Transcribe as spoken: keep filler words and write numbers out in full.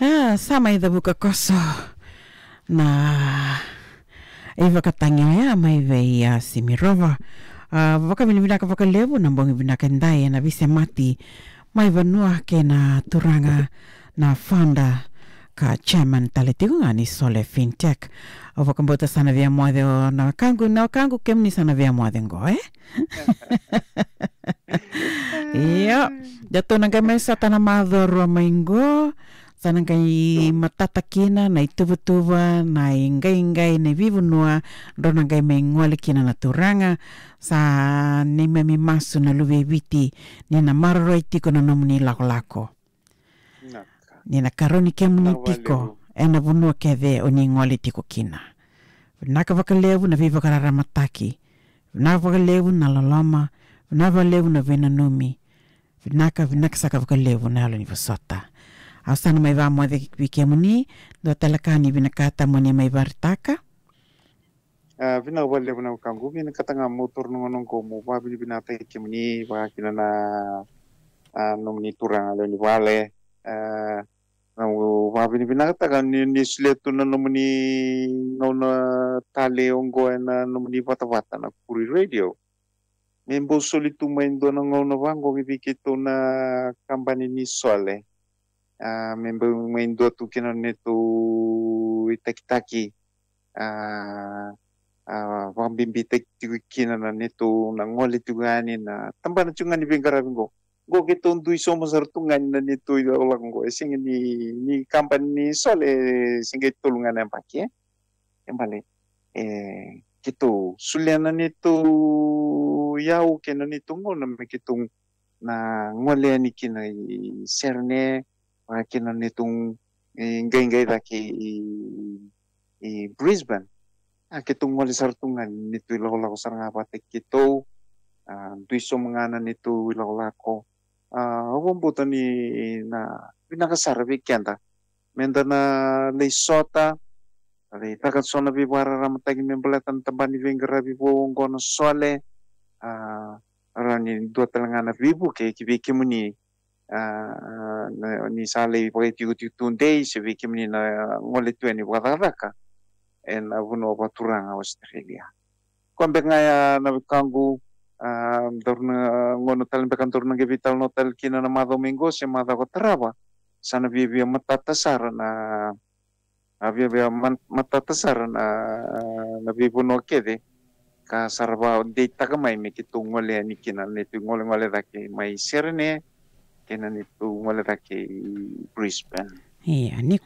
A, sa mai cavuka koso na ivakatagi oya mai vei a Simirova. A, vakavinavinaka vakalevu na bogi vinaka edai ena veisemati mai vanua kei na turaga na founder ka chairman tale tiko ga ni Sole Fintech. Au vakabauta sa na via moce o na wekaqu, na wekaqu kemuni sa na via moce qo, e? Io, datou na qai mai sota na macawa rua mai qo. Sa na qai matata kina na ituvatuva, na iqaiqai, na ivivanua, drau na qai mai gole kina na turaga. Sa neimami masu na luve i Viti, ni na maroroi tiko na nomuni lakolako. Vinaka. Ni na karoni kemuni tiko ena vanua kece o ni gole tiko kina. Vinaka vakalevu na veivakararamataki. Vinaka vakalevu na loloma. Vinaka vakalevu na veinanumi. Vinaka, vinaka saka vakalevu na yalo ni vosota. Au sa na mai vamoce vei kemuni, dua tale ka ni vinakata mo ni mai varitaka. A, vinaka vakalevu na wekaqu, vinakata ga meu taura na gauna qo meu vavinavinakataki kemuni vaka kina na, a, nomuni turaga lewe ni vale. A, na, meu vavinavinakataka ni, ni solia tu na nomuni gauna tale oqo ena nomuni vatavata na Kuri Radio. Me bau soli tu mai dua na gauna vaqo vei keitou na kabani ni Sole. A, me bau mai dua tu kina na neitou itakitaki. A, a, vakabibitaki tiko kina na neitou na gole tiko yani na tabana tiko ga ni veiqaravi qo. Qo keitou dui sobu sara tu ga ni na neitou ilakolako qo. E sega ni, ni kabani ni Sole, e sega e tolu ga na yabaki, e? E bale, e, keitou solia na neitou iyau kei na neitou gauna me keitou na gole yani kina i Serene, vaka kina na neitou, e, qaiqai cake i, i Brisbane. A, keitou gole sara tu ga ni neitou ilakolako sara ga vata keitou. A, dui sobu ga na neitou ilakolako. A, au vakabauta ni na vinaka sara vei keda me da na lai sota, lai caka so na veivakararamataki me baleta na tabana ni veiqaravi vou oqo na Sole. A, rawa ni dua tale ga na veivuke ki vei kemuni. A, na, ni sa lai vakaitikotiko tudei se vei kemuni na gole tu yani vakacakacaka ena vanua vakaturaga Australia. Koya beka ga ya na wekaqu, a, daru na gauna tale beka daru na qai veitalanoa tale kina na macawa mai qo se macawa ka tarava. Sa na viavia matata sara na, a, viavia man-, matata sara na, na veivanua kece ka sa ra vakadeitaka mai me keitou gole yani kina na neitou golegole cake mai Serene kei na neitou gole cake i Brisbane. Ia, ni